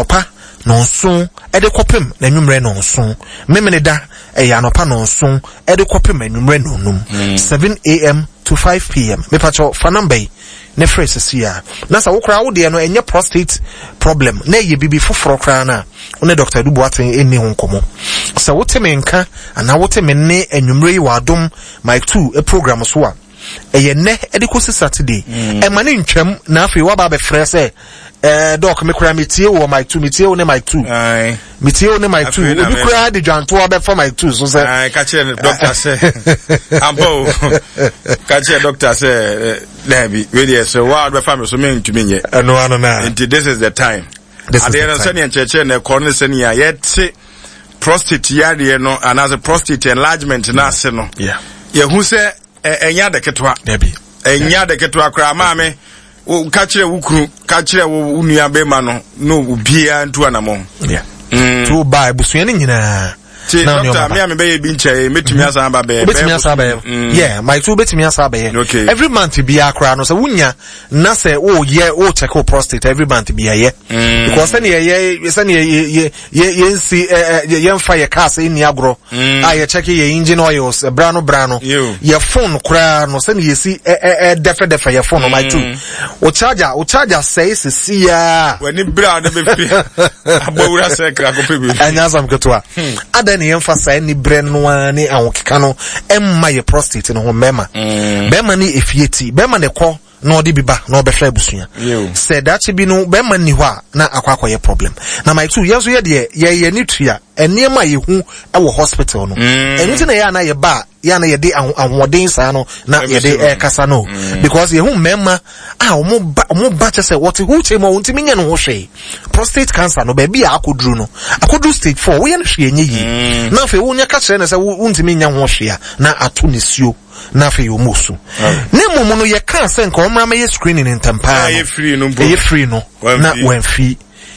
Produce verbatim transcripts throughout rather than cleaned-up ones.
Anɔpa nɔnson de kɔpem n'anwummerɛ nɔnson. Memeneda ɛyɛ anɔpa nɔnson de kɔpem anwummerɛ nɔnum. seven a m to five p m. Mepakyɛw, fa number yi ne frɛ sisi a. Na sɛ wo koraa wo deɛ no ɛnyɛ prostate problem na ɛyɛ bibi foforɔ koraa no a, wo ne Doctor Adu Boateng ɛnni ho nkɔmmɔ. Sɛ wote me nka anaa wote me nne anwummerɛ yi wɔ Adom Mike two program so a, ɛyɛ nnɛ ɛde kɔsi Saturday. Ɛma ne ntwam na afei woaba abɛfrɛ sɛ, ɛɛ "Doc, me koraa metie wo wɔ Mike two, metie wo ne Mike two, metie wo ne Mike two." Obi koraa de dwantoa bɛfa Mike two so sɛ ka kyerɛ doctor sɛ ampa o, ka kyerɛ doctor sɛ daabi, wei deɛ sɛ wa bɛfa me so, mentumi nyɛ. Ɛno ano na nti this is the time. Adeɛ no, sɛnea nkyerɛkyerɛ na ɛkɔ no, sɛnea yɛte prostate yareɛ no anaasɛ prostate enlargement no ase no, yɛhu sɛ ɛnyɛ ade ketewa, ɛnyɛ ade ketewa koraa. Maame, ka kyerɛ wo kunu, ka kyerɛ wo nua bɛrima no na obiara ntu anammɔn. Nti wo ba abusua no nyinaa. Ti doctor, mi a mi bɛyɛ bi nkyɛn, mɛtumi asan aba bɛyɛ? Wobɛtumi asan abɛyɛ, yeah, my two, wobɛtumi asan abɛyɛ. Okay. Every month biara koraa no, sɛ wonya na sɛ woyɛ wo check wo prostate every month biara yɛ, because sɛnea yɛ sɛnea yɛ yɛ yɛ yɛnsi ɛ ɛ yɛnfa yɛ cars nni agorɔ a yɛ check yɛ engine oils bra no bra no, yɛ phone koraa no, sɛnea yɛsi ɛ ɛ dɛfɛdɛfɛ yɛ phone no, my two, o charger o charger sɛɛ sisi yaa. W'ani bere a ɔde bɛ fi abɔwura sɛ kra kɔpɛ bi. Ɛnyɛ asam ketewa. Adan ne yɛmfa saa ni berɛ no ara ne ahokeka no ɛmma yɛ prostate no ho. Mmarima, bɛrima ne efie ti, bɛrima ne kɔ na ɔde bi ba na ɔbɛhwɛ abusua. Sɛ daakye bi no bɛrima nni hɔ a, na akɔ akɔyɛ problem. Na my two, yɛn nso yɛ deɛ yɛyɛ ne tua nneɛma a yɛhu wɔ hospital no, ɛno nti na yɛ ana yɛba a, yɛ ana yɛde ahoɔden saa no na yɛde ɛrekasa no, because yɛhu mmarima a wɔn ba wɔn ba kyɛ sɛ wɔte wheelchair mu a wɔntumi nyɛ no ho hwee. Prostate cancer no, baabi a akɔduru no, akɔduru stage four, woyɛ no hwee nyɛ yie, na afei wonya ka kyerɛ no sɛ wontumi nyɛ ho hwee a, na ato ne suo, na afei wɔn su ne mmom no, yɛka sɛ nka wɔn mmra mɛyɛ screening ntɛm paa no, ɛyɛ free no na wɔamfi.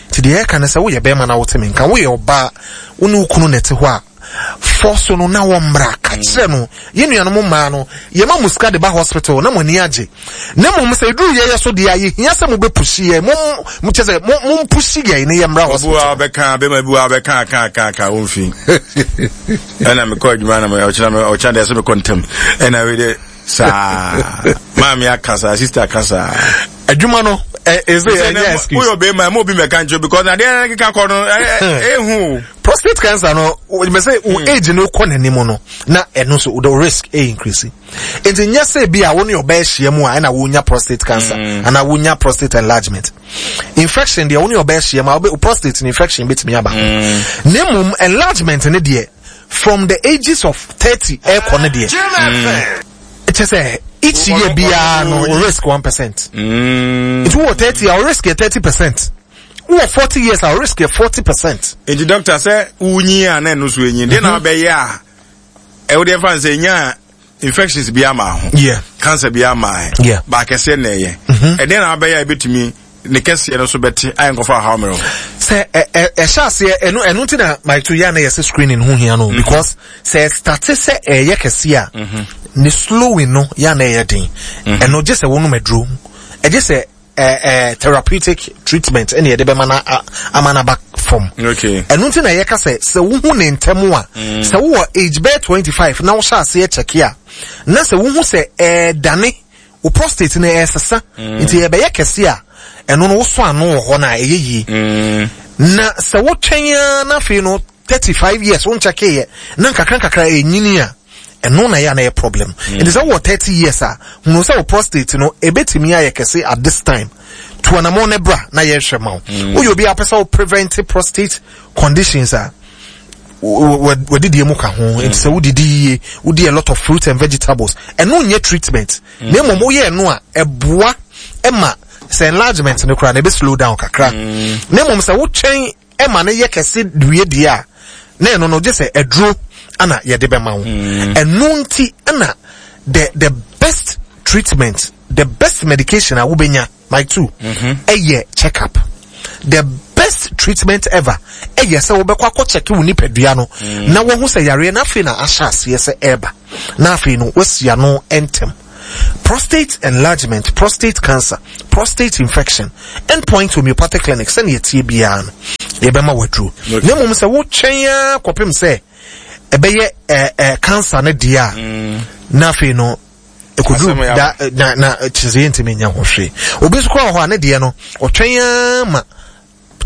Nti deɛ yɛka no sɛ, woyɛ bɛrima na wote me nka, woyɛ ɔbaa, wo ne wo kunu na ɛte hɔ a, fɔ so no na wɔmmra. Ka kyerɛ no, yɛn nuanom mmaa no, yɛma mo sika de ba hospital na mo ani agye, na mmom sɛ eduru yɛyɛ so deɛ a, yɛhia sɛ mo bɛ push yɛn, mo mo kyɛ sɛ mo mo mpush yɛn ne yɛmmra hospital. Obi wa bɛka, bɛma bi wa bɛka ka ka ka wɔn fi, ɛna mekɔ adwuma na ɔkyena ɔkyena deɛ sɛ mekɔ ntɛm, ɛna wei de saa maame aka saa, sister aka saa. Adwuma no ɛ ɛsɛ ɛnyɛ excuse. Woyɛ ɔbɛrima ɛma obi mɛka nkyɛn, because adeɛ keka kɔ no ɛhu. Prostate cancer no, mɛ sɛ wo age no kɔ n'anim no, na ɛno nso the risk ɛ increase. Nti nyɛ sɛ bi a wo ne ɔbaa ahyia mu a ɛna wonya prostate cancer mm. anaa wonya prostate enlargement. Infection deɛ, wo ne ɔbaa ahyia mu a, wo prostate infection betumi aba ho. Na mmom enlargement ne deɛ, from the ages of thirty ɛkɔ ne deɛ, kyɛ sɛ each year biara no risk one percent. Nti wowɔ thirty a, risk yɛ thirty percent. Wowɔ forty years a, risk yɛ forty percent. Nti doctor, sɛ wonyi a na ɛno so enyi deɛ na wabɛyɛ a, ɛwo deɛ fa n sɛ nya infections bi ama ho, yeah. cancer bi ama ɛ yeah. Baakɛseɛ na ɛyɛ ɛdeɛ na wabɛyɛ a ebɛtumi ne kɛseɛ no so bɛte ayɛ nkɔfa ɔhaw mmerɛ? Sɛ ɛhyɛ aseɛ, ɛno ɛno nti na my two, yɛ na yɛsɛ screening ho hia no, because sɛ ɛstart sɛ ɛyɛ kɛseɛ a, ne slowing no yɛ na ɛyɛ den. Ɛno gye sɛ wɔnom aduro, ɛgye sɛ ɛɛ ɛɛ therapeutic treatment ɛna yɛde bɛma na ama na ba fam. Ɛno nti na yɛka sɛ, sɛ wohu ne ntɛm a, sɛ wowɔ age bɛyɛ twenty five na wohyɛ aseɛ check a, na sɛ wohu sɛ ɛɛdane wo prostate no ɛɛsesa, nti yɛbɛyɛ kɛse a, ɛno no wosɔ ano wɔ hɔ no a, ɛyɛ yie. Na sɛ wotwɛn ara na afei no thirty five years wonkyɛkeeɛ na nkakra nkakra ɛnyini a, ɛno na ɛyɛ a na ɛyɛ problem. Nti sɛ wowɔ thirty years a, hunu sɛ wo prostate no ɛbɛtumi ayɛ kɛse at this time, to anammɔn no bra na yɛhwɛ ma wo. Woyɛ obi a wopɛ sɛ wo prevent prostate conditions a, wadidie mu ka ho. Nti sɛ wodidi yie, wodi a lot of fruits and vegetables, ɛno nyɛ treatment, na mmom woyɛ ɛno a, ɛboa ɛma sɛ enlargement no koraa na ɛbɛ slow down kakra. Na mmom sɛ wotwɛn ɛma no yɛ kɛse wie deɛ a, na ɛno no gye sɛ aduro ana yɛde bɛma wo. Ɛno nti ɛna the the best treatment, the best medication a wobɛnya, my two, ɛyɛ check up. The best treatment ever ɛyɛ sɛ wobɛkɔ akɔ check wo nipadua no na wɔho sɛ yareɛ no afei na ahyɛ aseɛ sɛ ɛreba, na afei no wasi ano ntɛm. Prostate enlargement, prostate cancer, prostate infection, Endpoint Homeopathic Clinic sɛnea ɛteɛ biara no yɛbɛma waduro. Na mmom sɛ wotwɛn ara kɔpem sɛ ɛbɛyɛ ɛɛ ɛɛ cancer no deɛ a, mm. na afei no ɛkɔduru da na na kyerɛ sɛ yɛntumi nyɛ ho hwee. Obi nso koraa wɔ hɔ a ne deɛ no ɔtwɛn ara ma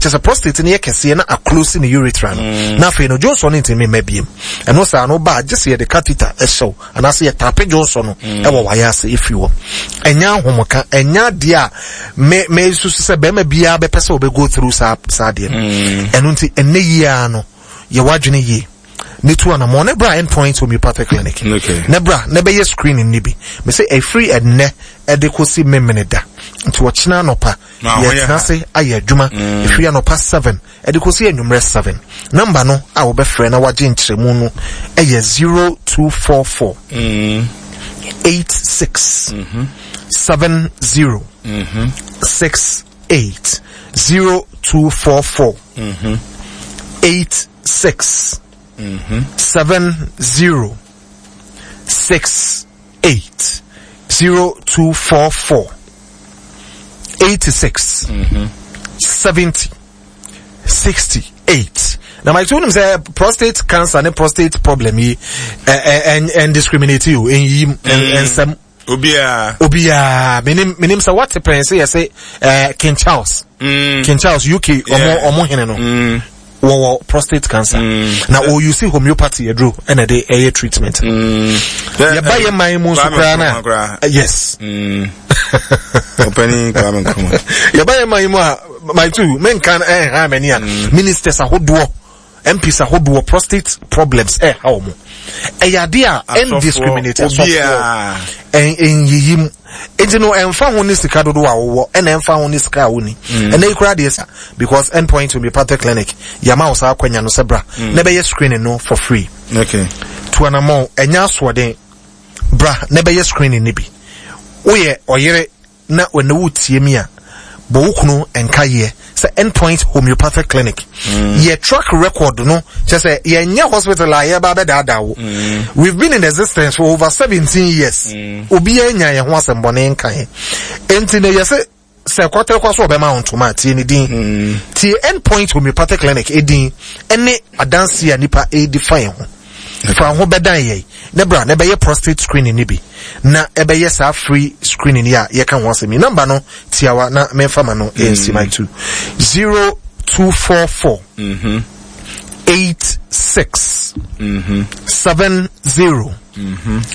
kyerɛ sɛ prostate no yɛ kɛseɛ na aclose ne urethra no, mm. na afei no dwonsɔ no ntumi mma biem. Ɛno saa no ba gye sɛ yɛde catheter ɛhyɛw anaasɛ yɛtape dwonsɔ no mm. ɛwɔ wayɛ ase ɛfiri hɔ. Ɛnyɛ ahomka, ɛnyɛ adeɛ a me me susu sɛ bɛrima biara bɛpɛ sɛ ɔbɛ go through saa saa adeɛ no. mm. Ɛno nti ɛnɛ yie no yɛ wadwene yie ne tu anamɔ ne bra Endpoint Homeopathic Clinic, okay. Ne bra ne bɛyɛ screening ne bi. Me sɛ ɛfiri ɛnnɛ ɛde kɔsi memene da nti ɔkyena anɔpa yɛtena ase ayɛ adwuma ɛfiri anɔpa seven ɛde kɔsi anwummerɛ seven. Number no a wɔbɛfrɛ na wagye nkyerɛmu no ɛyɛ zero two four four eight six seven zero six eight, zero two four four eight six seven zero six eight, zero two four four eighty six seventy sixty eight. Na my two sɛ prostate cancer ne prostate problem yi ɛ ɛ ɛn discriminate o, ɛnyi nsɛm. Obiara. Obiara. Menim menim sɛ wate pɛn sɛ yɛsɛ ɛɛ King Charles. Mm. King Charles U K ɔmo ɔmo hene no. Mm. Wɔwɔ prostate cancer. Mm. Na ɔuse homeopathy aduro ɛna ɛde ɛyɛ treatment. Mm. Yɛba yɛ man mu nso koraa na yes. Mm. Ɔpɛni Kwame Nkrumah. Yɛba yɛ man mu a, my two menka ɛnha m'ani a, ministers ahodoɔ, M Ps ahodoɔ, prostate problems ɛha wɔn. Ɛyɛ adeɛ a ɛn discriminate, asɔfoɔ, ɛnyiyi mu. Nti no ɛnfa ho ne sika dodoɔ a wɔwɔ, ɛna ɛnfa ho ne sika a wɔni. Ɛnna yi koraa deɛ sa because Endpoint Homeopathic Clinic yama wɔ saa akɔnya no sɛ bra na ɛbɛyɛ screening no for free. Okay. Tu anamɔ, ɛnyɛ asoɔden, bra na ɛbɛyɛ screening no bi. Woyɛ ɔyere na wɔne wo tie mi a, bɔ wo kunu nka yɛ sɛ Endpoint Homeopathic Clinic mm. yɛ track record no kyɛ sɛ yɛnyɛ hospital a yɛba bɛdaadaa wo. mm. We've been in existence for over seventeen years. mm. Obiara nya yɛn ho asɛmbɔne nka yɛn, enti na yɛsɛ sɛ kɔtɛkɔ so ɔbɛma wo ntoma a, tie ne din. mm. Tie Endpoint Homeopathic Clinic edin ɛne adanse a nipa edi fa yɛn ho. Fa ho bɛdan yɛn ne bra na ɛbɛyɛ prostate screening ni bi, na ɛbɛyɛ saa free screening yi a yɛka ho asɛm yi. Number no tiawa na memfa ma no ɛnsi my two, zero two four four eight six seven zero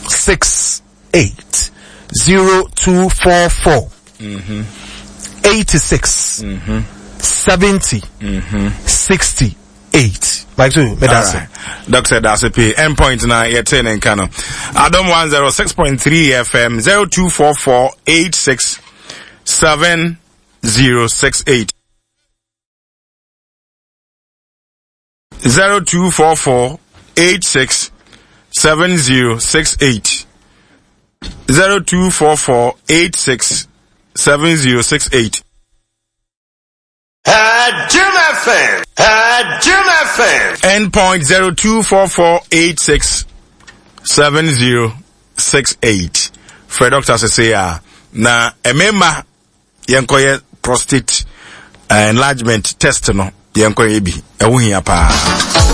six eight, zero two four four eighty six seventy sixty eight. Like two, me that's it. Doctor Dase P. Endpoint na yɛte ne nka no. Adom one oh six point three F M, zero two four four eight six seven zero six eight. zero two four four eight six seven zero six eight. zero two four four eight six seven zero six eight. Jim F M. Jim F M. Endpoint zero two four four eight six seven zero six eight. Frɛ doctor sese a na mmarima yɛnkɔyɛ prostate uh, enlargement test no, yɛnkɔyɛ bi, ɛho hia paa.